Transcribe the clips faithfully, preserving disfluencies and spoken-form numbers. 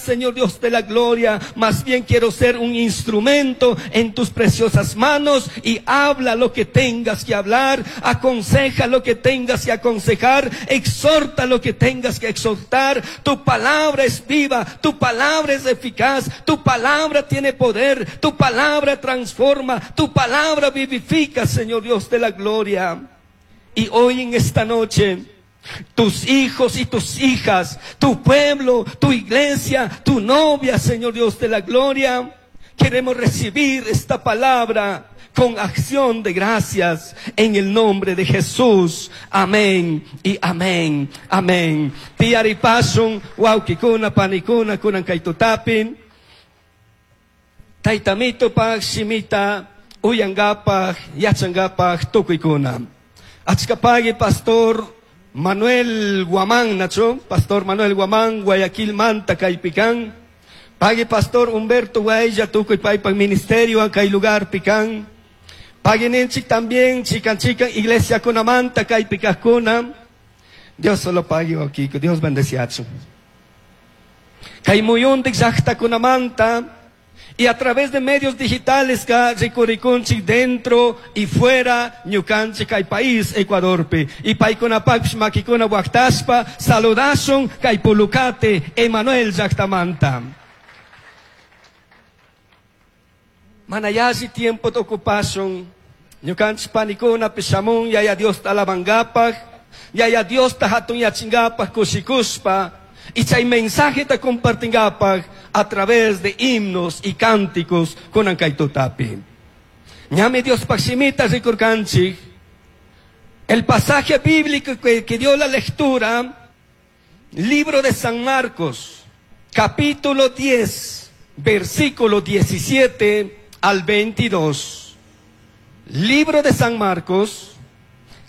Señor Dios de la gloria. Más bien quiero ser un instrumento en tus preciosas manos y habla lo que tengas que hablar, aconseja lo que tengas que aconsejar, exhorta lo que tengas que exhortar. Tu palabra es viva, tu palabra es eficaz, tu palabra tiene poder, tu palabra transforma, tu palabra vivifica, Señor Dios de la gloria. Y hoy en esta noche, tus hijos y tus hijas, tu pueblo, tu iglesia, tu novia, Señor Dios de la gloria, queremos recibir esta palabra con acción de gracias en el nombre de Jesús. Amén y amén. Amén. Tiyaripashun, huauquicuna, panicuna, kunan kay tutapi. Tayta Amitupaj shimita, uyangapaj, yachangapaj, tukuykuna. Achka pagui pastor Manuel Guamán, nachu, Pastor Manuel Guamán, Guayaquil manta, kaypi kan. Pagui Pastor Humberto Guaya, tukuy paypaj ministerio, kay lugarpi kan. Pagui ninchik también, chikan chikan, iglesia kunamanta, kaypi kajkuna. Dios solo pagui, Kiko, Dios bendeciachu. Kay muyundik llajtakunamanta, y a través de medios digitales ka rikurikunchik dentro y fuera ñukanchik kay país Ecuadorpi. Y paykunapaqpish makikuna waktashpa saludashun kay Pulucate Emanuel llajtamanta. Mana yalli tiempo ocupashun ñukanchik panikuna pishamun yaya Dios alabangapaj, yaya Dios ta hatunyachingapaj kushikushpa. Y chay mensaje ta compartingapaj a través de himnos y cánticos kunan kay tutapi. Ñami Dios pajshimita rikurkanchik. El pasaje bíblico que, que dio la lectura, libro de San Marcos, capítulo diez, versículo diecisiete al veintidós. Libro de San Marcos,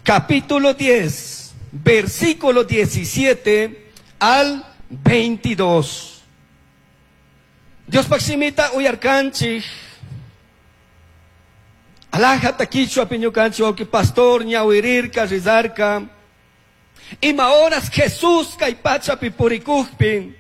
capítulo diez, versículo diecisiete al veintidós. Dios pajshimita uyarkanchik. Alajata kichwa piñukanchik, wawqi pastor ñawirirka, rizarka. Ima horas Jesús kay pachapi purikujpi,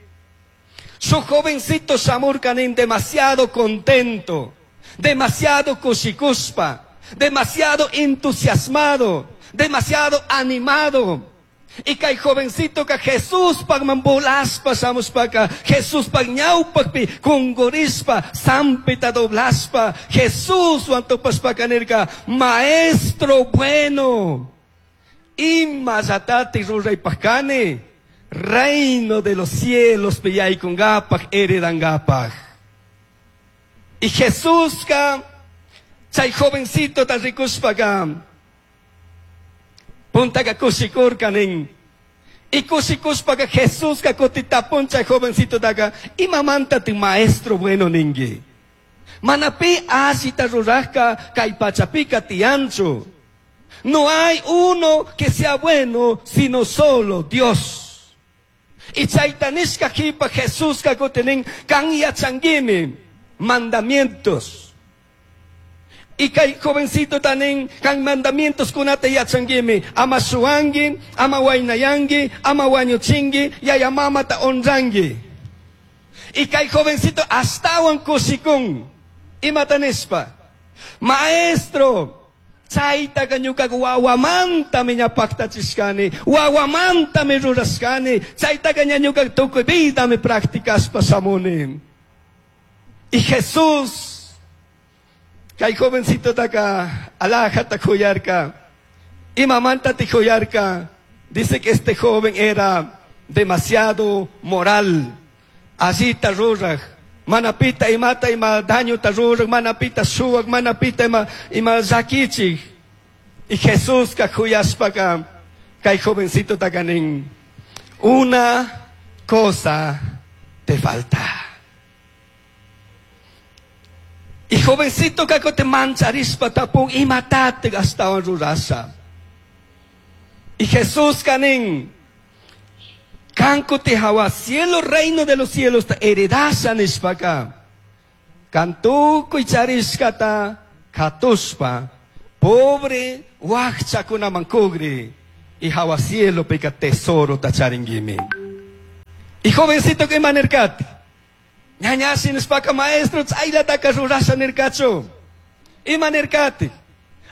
su jovencito shamurkanin demasiado contento, demasiado kushikuspa, demasiado entusiasmado, demasiado animado. Y kay jovencito ka Jesús pagmambulaspa shamushpaka, Jesús pagñawpakpi kungurispa, sampita doblaspa, Jesús wantupashpaka nirka, maestro bueno, ima llatati ruraypajkani, reino de los cielos piyaykungapak, heredangapak. Y Jesús ka, chay jovencito ta rikushpaka, puntaka kushikurkanin. Y kushikushpaka Jesús ka kutitapun chay jovencito taka, imamanta ti maestro bueno ningui. Manapi asita rurajka kay pachapika tianchu. No hay uno que sea bueno, sino solo Dios. Y chaytanishka jipa Jesús ka kutinin kan yachanguimi mandamientos. Y kay jovencito tanin kan mandamientos kunata yachanguimi, ama shuangi, ama wainayangi, ama wañuchingi, yaya mama ta honrangi. Y kay jovencito astawan kushikun. Imatanispa, maestro, chaytaka ñuka wawamanta mi ñapaqtachishkani, wawamanta mi rurashkani, chaytaka ña ñuka tukuy vida mi practicashpa shamuni. Y Jesús, kay jovencito taka alajata khuyarka, imamanta tikhuyarka, dice que este joven era demasiado moral, así ruraj, manapita imata ima daño ta ruraj, manapita shuwak, manapita ima, ima llakichik. Y Jesús ka khuyashpaka, kay jovencito takanin, una cosa te falta. Y jovencito kako te mancharispa tapun imatate gastawan rurasha. Y Jesús kanin, kanko te hawa cielo reino de los cielos ta heredasha nishpaka. Kantukuy charishkata katuspa, pobre wakchakuna mankugri, y hawa cielo pika tesoro ta charingimi. Y jovencito que manerkati, Ñañashi nishpaka maestro chaylataka rurasha nirkachu. Ima nirkati?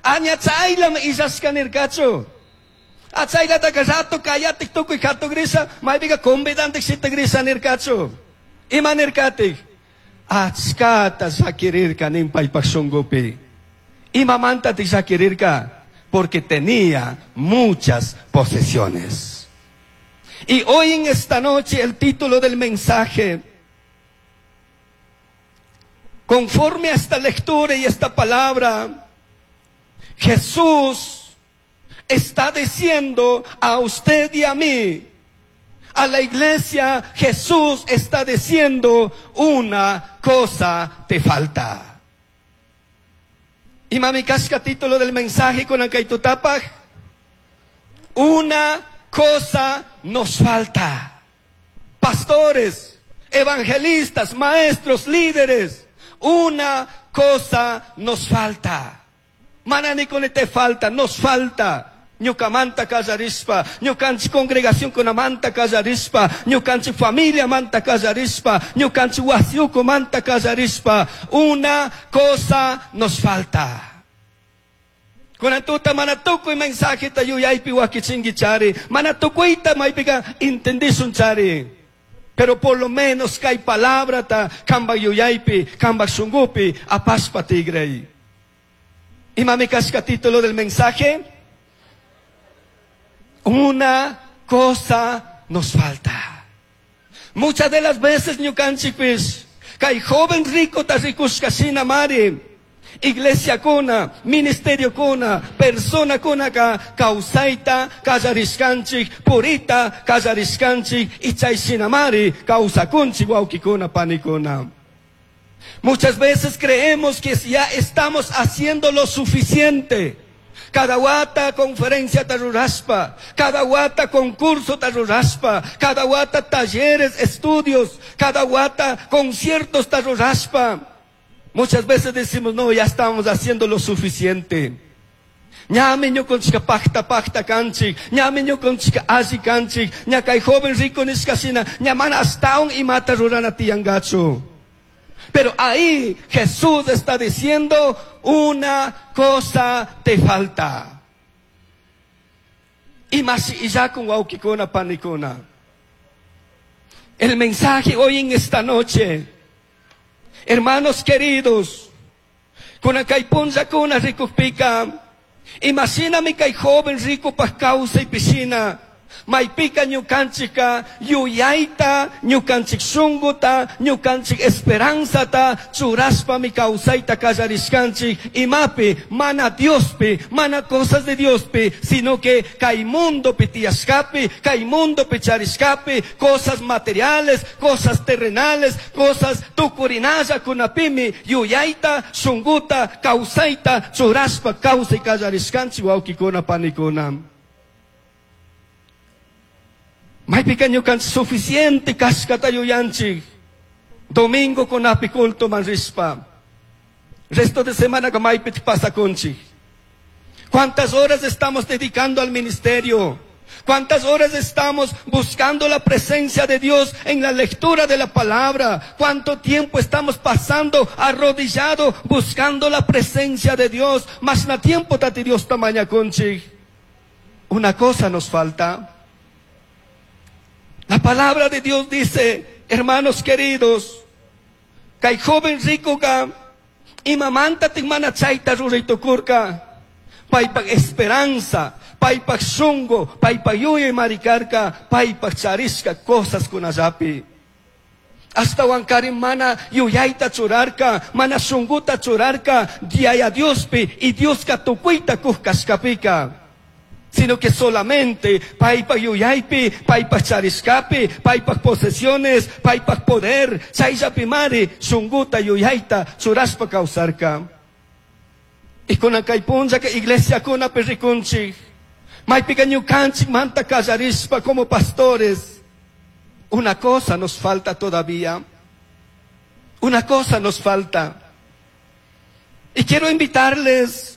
Aña chaylami illashka nirkachu. Achaylataka rato kayatik tukuy katugrisa, maypika convidantik shitagrisa nirkachu. Ima nirkatik? Achkata llakirirka nin paypak shunkupi. Imamantatik llakirirka? Porque tenía muchas posesiones. Y hoy en esta noche el título del mensaje, conforme a esta lectura y esta palabra, Jesús está diciendo a usted y a mí, a la iglesia, Jesús está diciendo, una cosa te falta. Y mami kashka título del mensaje con Ankaitutapaj, una cosa nos falta. Pastores, evangelistas, maestros, líderes, una cosa nos falta. Mana nikuni te falta, nos falta. Ñukamanta kallarispa, ñukanchik congregación kunamanta kallarispa, ñukanchik familia manta kallarispa, ñukanchik wasiuku manta kallarispa. Una cosa nos falta. Kunan tuta mana tukuy mensajeta yuyaypi wakichinki chari, mana tukuyta maypika entendishun chari. Pero por lo menos kay palabrata kambak yuyaypi, kambak shunkupi, apashpa tigray. Imami kashka título del mensaje? Una cosa nos falta. Muchas de las veces ñukanchikpis, kay joven rico ta rikushka shina mari, iglesia kuna, ministerio kuna, persona kuna ka kawsayta kallarishkanchik, purita kallarishkanchik, y chay shinamari kawsakunchik wawkikuna panikuna. Muchas veces creemos que ya estamos haciendo lo suficiente. Cada wata conferencia taruraspa, cada wata concurso taruraspa, cada wata talleres, estudios, cada wata conciertos taruraspa. Muchas veces decimos, no, ya estamos haciendo lo suficiente. Ñami ñukanchika pakta pakta kanchik, ñami ñukanchika alli kanchik, ña kay joven rico nishka shina, ña mana ashtawan imata rurana tiyangachu. Pero ahí Jesús está diciendo, una cosa te falta. Y más y ya con wawkikuna panikuna. El mensaje hoy en esta noche, hermanos queridos, kuna kay punllakuna rikukpika, imashinami kay joven rico pa kawsaypi shina, maypika ñukanchika yuyayta, ñukanchik shunkuta, ñukanchik esperanzata churashpami kawsayta kallarishkanchik, imapi, mana Diospi, mana cosas de Diospi, sino que kay mundopi tiyashkapi, kay mundopi charishkapi, cosas materiales, cosas terrenales, cosas tukurinallakunapimi yuyayta, shunkuta, kawsayta churashpa kawsay kallarishkanchik wawkikuna panikuna. Maypika ñukanchik suficiente kashkata yuyanchik. Domingo kunapi culto man rishpa. Resto de semana ka maypi pasakunchik. ¿Cuántas horas estamos dedicando al ministerio? ¿Cuántas horas estamos buscando la presencia de Dios en la lectura de la palabra? ¿Cuánto tiempo estamos pasando arrodillado buscando la presencia de Dios? Mas na tiempo tati Dios tamañakunchik. Una cosa nos falta. La palabra de Dios dice, hermanos queridos, kay joven rico ka, imamanta mana chayta ruraytukurka, paypak esperanza, paypak shunku, paypak yuyay marikarka, paypak charishka cosas kunallapi. Ashtawankarin mana yuyayta churarka, mana shunkuta churarka, Yaya Diospi y Dioska tukuyta kuj kashkapika. Sino que solamente paypak yuyaypi, paypak charishkapi, paypak posesiones, paypak poder, chayllapi mari shunkuta yuyayta churashpa kawsarka. Y kunan kay punllaka iglesiakunapi rikunchik, maypika ñukanchik manta kallarishpa como pastores. Una cosa nos falta todavía. Una cosa nos falta. Y quiero invitarles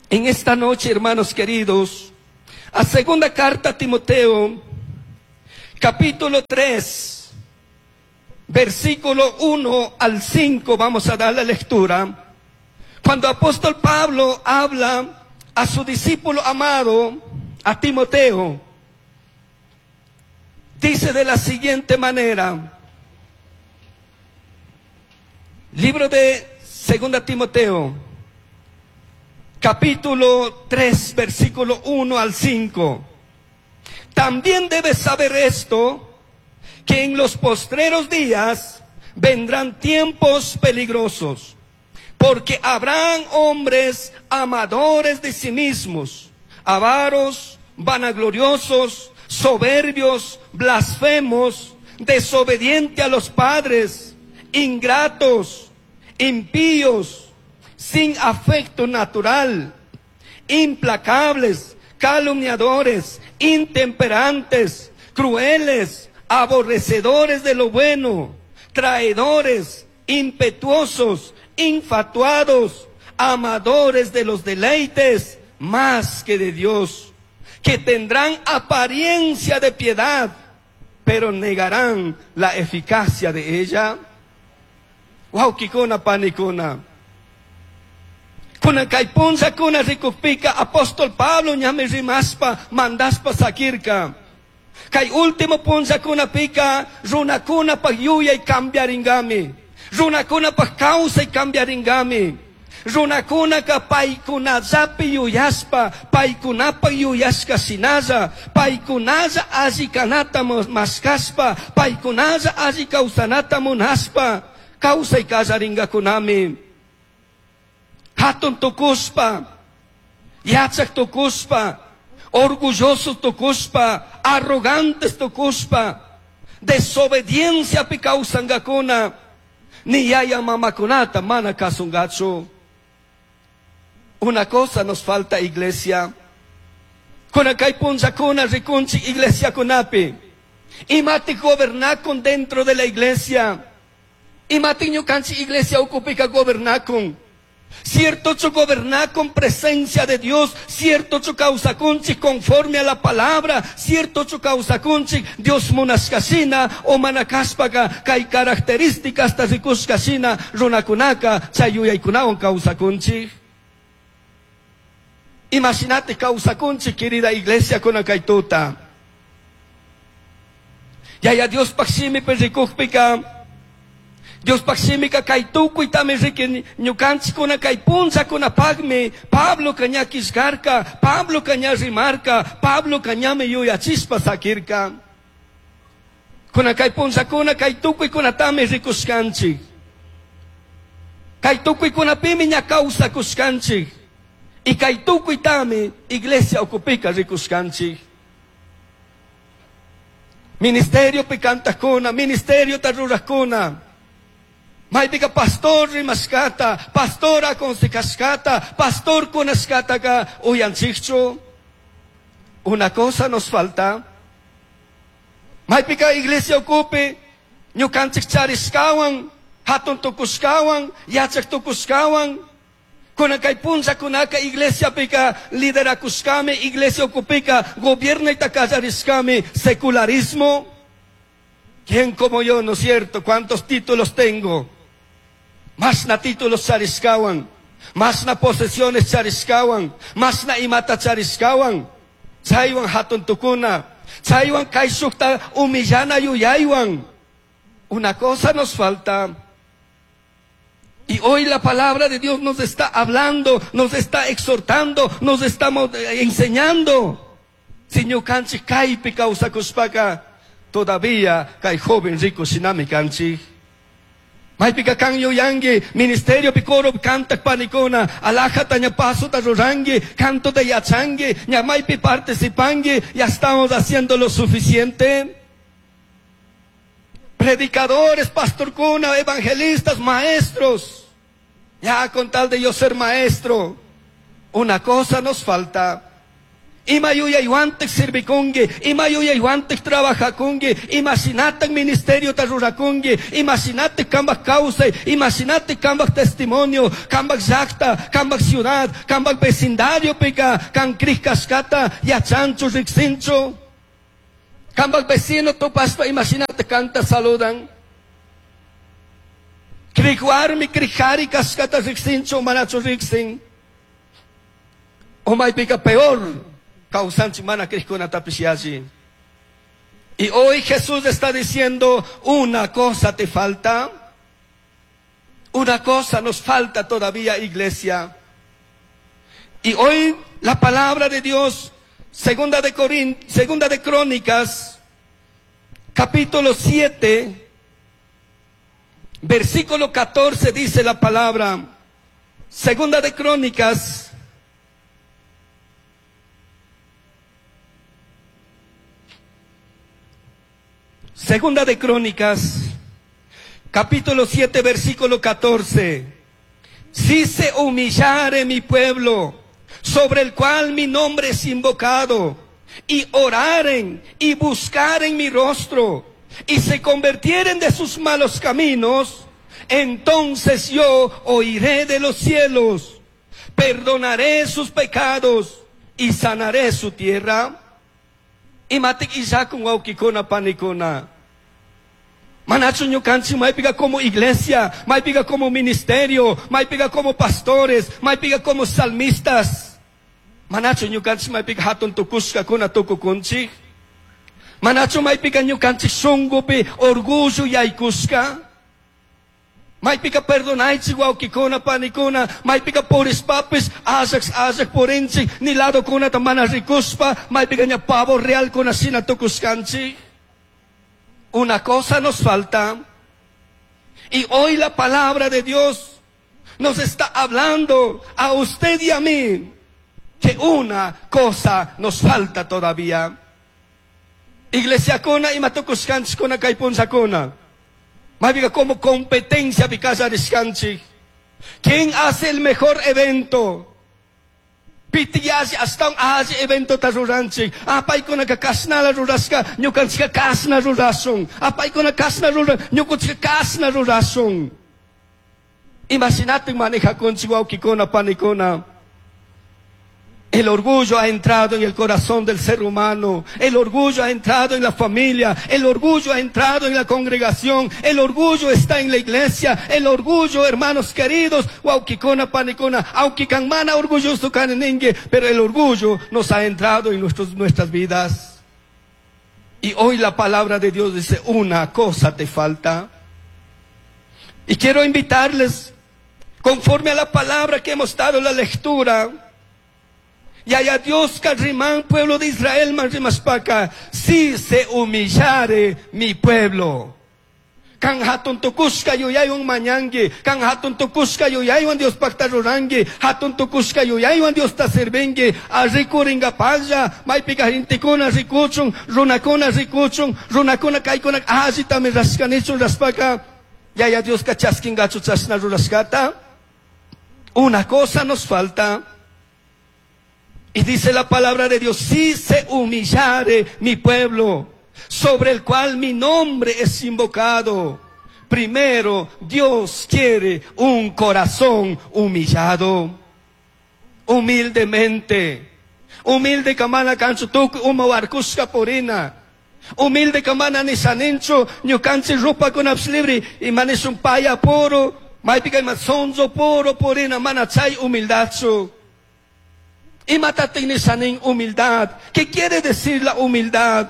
en esta noche, hermanos queridos, a segunda carta a Timoteo, capítulo tres, versículo uno al cinco, vamos a dar la lectura. Cuando apóstol Pablo habla a su discípulo amado, a Timoteo, dice de la siguiente manera, libro de Segunda Timoteo, capítulo tres, versículo uno al cinco. También debes saber esto, que en los postreros días vendrán tiempos peligrosos, porque habrán hombres amadores de sí mismos, avaros, vanagloriosos, soberbios, blasfemos, desobedientes a los padres, ingratos, impíos, sin afecto natural, implacables, calumniadores, intemperantes, crueles, aborrecedores de lo bueno, traidores, impetuosos, infatuados, amadores de los deleites más que de Dios, que tendrán apariencia de piedad, pero negarán la eficacia de ella. Huauquicuna, panicuna. Kuna kay punza kuna rikupika apóstol Pablo ñame rimaspa mandaspa sakirka. Kay último punza kuna pika runakuna pag yuyay cambiaringami. Runakuna pag kawsay cambiaringami. Runakuna ka paykunallapi yuyaspa, paykunapa yuyashka shinalla, paykunalla alli kanata maskaspa, paykunalla alli kawsanata munaspa, kawsay kallaringakunami. Hatun tukuspa, yachak tukuspa, orgulloso tukuspa, arrogantes tukuspa, desobediencia pi kawsangakuna, ni yaya mamakunata mana kasungachu. Una cosa nos falta, iglesia. Kuna kay punzakuna rikunchi iglesia kunapi. Imati gobernakun dentro de la iglesia. Imati ñukanchi iglesia ukupika gobernakun. Cierto chu gobernakun presencia de Dios, cierto chu kawsakunchi conforme a la palabra, cierto chu kawsakunchi Dios munashkashina o manakaspaka kay características ta rikushkashina runakunaka chay yuyaykunawan kawsakunchi. Imagínate kawsakunchi, querida iglesia, kuna kay tuta. Yaya Dios pakshimi perikukpika, Dios pakshimika kay tukuytami riki ñukanchik kuna kay puncha kunapaqmi Pablo kaña killkarka, Pablo kaña rimarka, Pablo kañami yuyachispa sakirka. Kuna kay puncha kuna kay tukuykunatami rikushkanchik. Kay tukuykunapimi ña kawsakushkanchik. Y kay tukuytami iglesia ukupika rikushkanchik. Ministerio pikantakuna, ministerio tarurajkuna. Maypika pastor rimashkata, pastor aconsejashkata, pastor kunashkataka uyanchikchu. Una cosa nos falta. Maypika iglesia ukupi, ñukanchik charishkawan, hatun tukushkawan, yachak tukushkawan. Kuna kay punza kunaka iglesia pika liderakushkami, iglesia ukupika gobierno kallarishkami, secularismo. ¿Quién como yo, no es cierto? ¿Cuántos títulos tengo? Más na títulos charishkawan, más na posesiones charishkawan, más na imata charishkawan. Chaywan hatun tukuna, chaywan kayshukta humillana yuyaywan. Una cosa nos falta. Y hoy la palabra de Dios nos está hablando, nos está exhortando, nos está enseñando. Si ñukanchik kaypi kawsakushpaka, todavía kay joven rico shinami kanchik. Maypika kan yuyangi, ministerio picoro kantak panikuna, alajata ña paso ta rurangi, canto de yachangi, ña maypi participangi, ya estamos haciendo lo suficiente. Predicadores, pastor cuna, evangelistas, maestros. Ya con tal de yo ser maestro, una cosa nos falta. Ima yuyaywantik sirvikunki, ima yuyaywantik trabajakunki, imaginatik ministerio tarurakunki, imaginatik kambak kawsay, imaginatik kambak testimonio, kambak llaqta, kambak ciudad, kambak vecindario pika, kan krij kashkata, yachanchu riksinchu. Kambak vecino tupaspa, imagínate kanta saludan. Crij warmi crij jari kashkata riksinchu o manachu riksin. O maypika peor kawsanchik mana crijkunatapish yalli. Y hoy Jesús está diciendo, una cosa te falta. Una cosa nos falta todavía, iglesia. Y hoy la palabra de Dios, segunda de Corin, segunda de Crónicas, capítulo siete, versículo catorce dice la palabra. Segunda de Crónicas, Segunda de Crónicas, capítulo siete, versículo catorce. Si se humillare mi pueblo, sobre el cual mi nombre es invocado, y oraren y buscaren mi rostro, y se convirtieren de sus malos caminos, entonces yo oiré de los cielos, perdonaré sus pecados y sanaré su tierra. Imatik isakun wawkikuna panikuna. Manachu ñukanchik maypiqa como iglesia, maypiqa como ministerio, maypiqa como pastores, maypiqa como salmistas. Manachu ñukanchik maypiqa hatun tukushkakuna tukukunchik. Manachu maypiqa ñukanchik shunqupi orgullo yaykushka. Maypiqa perdonaychik wawkikuna panikuna, maypiqa purispapis allaq allaq purinchik, ni ladokunata mana rikuspa, maypiqa ña pavo realkuna shina tukushkanchik. Una cosa nos falta. Y hoy la palabra de Dios nos está hablando a usted y a mí que una cosa nos falta todavía. Iglesia kuna imatukushkanchik kuna kay punllakuna. Maypiqa como competencia pikallarishkanchik. ¿Quién hace el mejor evento? Pitiyashi hasta un alli evento ta ruranchik. Ah, paykunaka kashnala rurashka, ñukanchika kashna rurashun. Ah, paykuna kashna ruran, ñukanchika kashna rurashun. Imagínate manejakunchik wawkikuna panikuna. El orgullo ha entrado en el corazón del ser humano. El orgullo ha entrado en la familia. El orgullo ha entrado en la congregación. El orgullo está en la iglesia. El orgullo, hermanos queridos, wawkikuna panikuna, aunque mana orgulloso kaneningue, pero el orgullo nos ha entrado en nuestros, nuestras vidas. Y hoy la palabra de Dios dice, una cosa te falta. Y quiero invitarles, conforme a la palabra que hemos dado en la lectura, y allá Dios carrimán, pueblo de Israel, manrimaspaka, si se humillare mi pueblo. Kan hatun tukushka yuyaywan mañangi, kan hatun tukushka yuyaywan Dios pacta rurangi, hatun tukushka yuyaywan Dios ta sirvingi, arrikuringapalla, maypika gentekuna rikuchun, runakuna rikuchun, runakuna kaykuna allitami rashkanichun raspaka, yaya Dios ka chaskingachu chashna rurashkata. Una cosa nos falta. Y dice la palabra de Dios, si se humillare mi pueblo, sobre el cual mi nombre es invocado. Primero, Dios quiere un corazón humillado. Humildemente. Humilde kamana kanchu tukuy uma warkushka purina. Humilde kamana nisaninchu, ñukanchik rupakunapish libre, imanishun paya puro, maypika ima sonso puro purina, mana chay humildadchu. Imatatik nisanin humildad. ¿Qué quiere decir la humildad?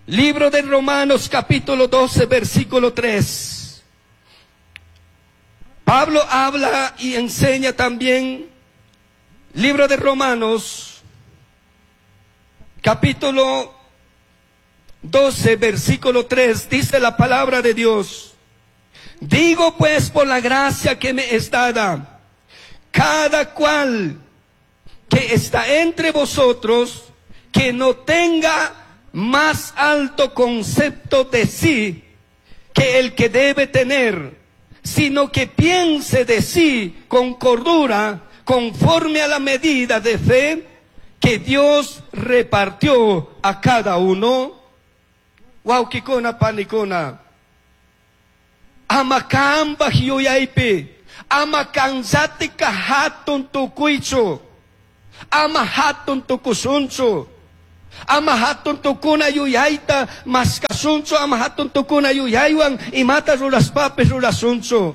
Libro de Romanos capítulo doce versículo tres. Pablo habla y enseña también. Libro de Romanos capítulo doce versículo tres dice la palabra de Dios. Digo pues por la gracia que me es dada, cada cual que está entre vosotros, que no tenga más alto concepto de sí que el que debe tener, sino que piense de sí con cordura, conforme a la medida de fe que Dios repartió a cada uno. Wawkikuna panikuna, ama kambaj yuyaypi, ama kanllatika hatun tukuychu, ama hatun tukushunchu. Ama hatun tukuna yuyayta mashkashunchu, ama hatun tukuna yuyaywan imata rurashpapis rurashunchu.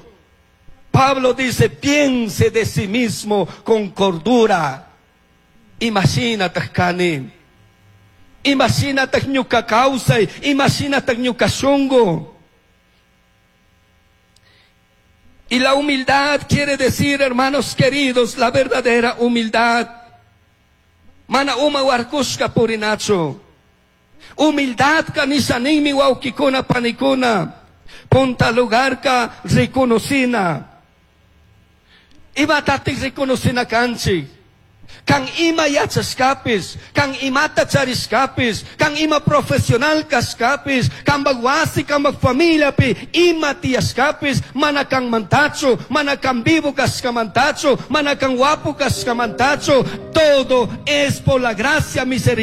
Pablo dice, piense de sí mismo con cordura. Imashinataj kani. Imashinataj ñuka kawsay, imashinataj ñuka shungu. Y la humildad quiere decir, hermanos queridos, la verdadera humildad. Mana uma warkushka purinachu. Humildad nisha ninmi wawkikuna panikuna. Punta lugarka reconocina. Imatatik reconocina kanchik. Kan ima yachashkapis, kan imata charishkapis, kan ima profesional kashkapis, kan wasi, kan familiapi, ima tiyashkapis, mana kan mantachu, mana kan vivo kashkamantachu, mana kan wapu kashkamantachu, todo es por la gracia misericordia.